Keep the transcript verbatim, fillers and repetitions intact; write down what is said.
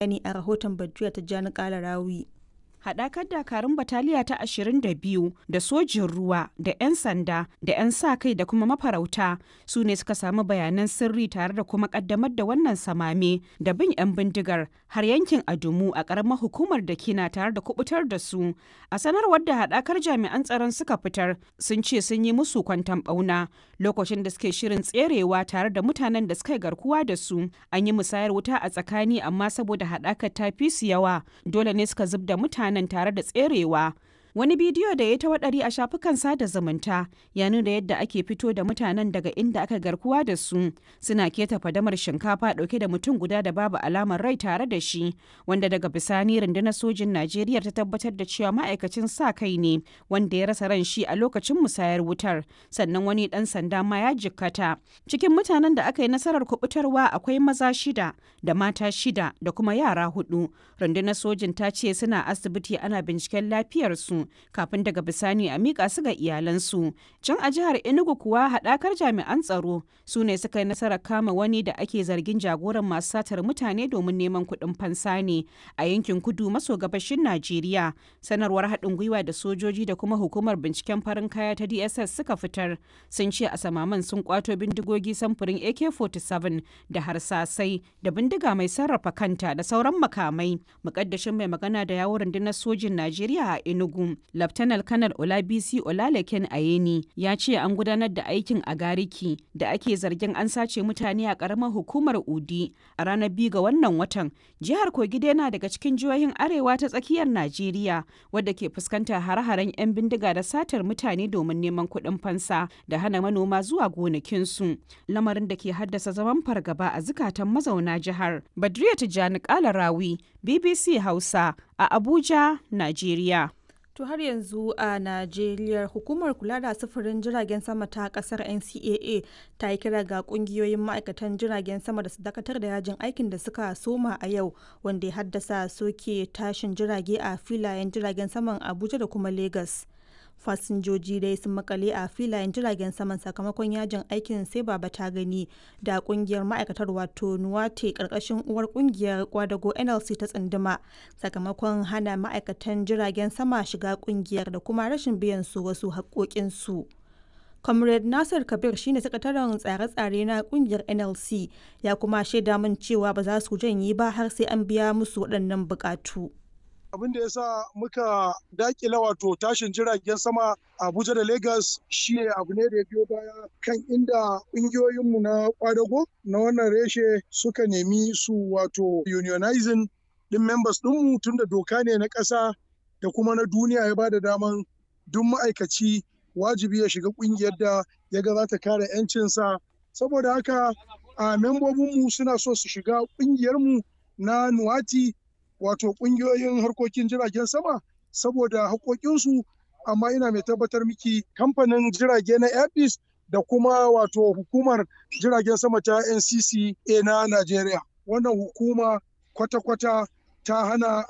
Bayani a rahoton Badru Tijjani Kalarawi. Haɗakar dakarun Bataliya ta ashirin da biyu da sojin ruwa da 'yan sanda da 'yan sa-kai da kuma mafarauta su ne suka samu bayanan sirri tare da kuma ƙaddamar da wannan samame da bin 'yan bindigar har yankin Adumu a ƙaramar hukumar da Kina tare da kubutar da su. A sanarwar da haɗakar jami'an tsaron suka fitar, sun ce sun yi musu kwanton ɓauna lokacin da suke shirin tserewa tare da mutanen da suka yi garkuwa da su. An yi musayar wuta a tsakani, amma saboda haɗakar ta fi su yawa, dole ne suka zub da mutanen mutanen tare da tserewa. Wani bidiyo da ya ta waɗari a shafukan sada zumunta ya nuna yadda ake fito da mutanen daga inda aka garkuwa da su, suna keta fadamar shinkafa ɗauke da mutum guda da babu alamar rai tare da shi, wanda daga bisani rundunar sojin Najeriya ta tabbatar da cewa ma'aikacin sa kai ne wanda ya rasa ran shi a lokacin musayar wutar, sannan wani ɗan sanda ma ya jikkata. Cikin mutanen da aka yi nasarar kubutarwa akwai maza shida da mata shida da kuma yara hudu. Rundunar sojin ta ce suna asibiti ana binciken lafiyarsu kafin daga bisani a miƙa su ga iyalansu. Can a jihar Enugu kuwa, haɗakar jami'an tsaro su ne suka yi nasarar kama wani da ake zargin jagoran masu satar mutane domin neman kuɗin fansa ne a yankin kudu maso gabashin Najeriya. Sanarwar haɗin gwiwa da sojoji da kuma hukumar binciken farin kaya ta D S S suka fitar sun ce a samaman sun kwato bindigogi samfurin A K arba'in da bakwai da harsasai da bindiga mai sarrafa kanta da sauran makamai. Mukaddashin mai magana da yawon rundunar sojin Najeriya a Enugu, Laftanar Kanar Olabisi Olalekan Ayeni, ya ce an gudanar da aikin a Gariki da ake zargin an sace mutane a karamar hukumar Udi a ranar biyu ga wannan watan. Jihar Kogi yana daga cikin jihohin arewa ta tsakiyar Najeriya wadda ke fuskantar hare-haren 'yan bindiga da satar mutane domin neman kuɗin fansa da hana manoma zuwa gonakinsu. Lamarin da ke haddasa zaman fargaba a zukatan mazauna jihar. Badriya Tijjani Kalarawi, B B C Hausa, a Abuja, Najeriya. To, har yanzu a Najeriya, hukumar kula da sufurin jiragen sama ta kasar N C A A ta yi kira ga kungiyoyin ma'aikatan jiragen sama da su dakatar da yajin aikin da suka soma a yau, wanda ya haddasa soke tashin jirage a filayen jiragen saman Abuja da kuma Lagos. Fasinjoji dai sun makale a filayen jiragen saman sakamakon yajin aikin sai baba ta gani da kungiyar ma'aikatar, wato Nuwate, karkashin uwar kungiyar kwadago N L C ta tsunduma, sakamakon hana ma'aikatan jiragen sama shiga kungiyar da kuma rashin biyan su wasu haƙoƙinsu. Comrade Nasir Kabir shine sakataren tsare-tsare na kungiyar N L C, ya kuma shaida min cewa ba za su janye ba har sai an biya musu waɗannan buƙatu. Abin da ya sa muka dakila wato tashin jiragen sama Abuja da Lagos shi abu ne da ya biyo baya kan inda ƙungiyoyinmu na kwadago na wannan reshe suka nemi su wato unionizing din members ɗinmu, tunda doka ne na ƙasa da kuma na duniya ya bada daman duk ma'aikaci wajibi ya shiga ƙungiyar da ya ga za ta kare 'yancinsa. Saboda haka a membobinmu suna so su shiga ƙungiyarmu na Nuwati, wato kungiyoyin harkokin jiragen sama, saboda haƙoƙinsu. Amma ina mai tabbatar miki, kamfanin jirage na Airpeace da kuma wato hukumar jiragen sama ta N C C A na Najeriya, wannan hukuma kwata-kwata ta hana.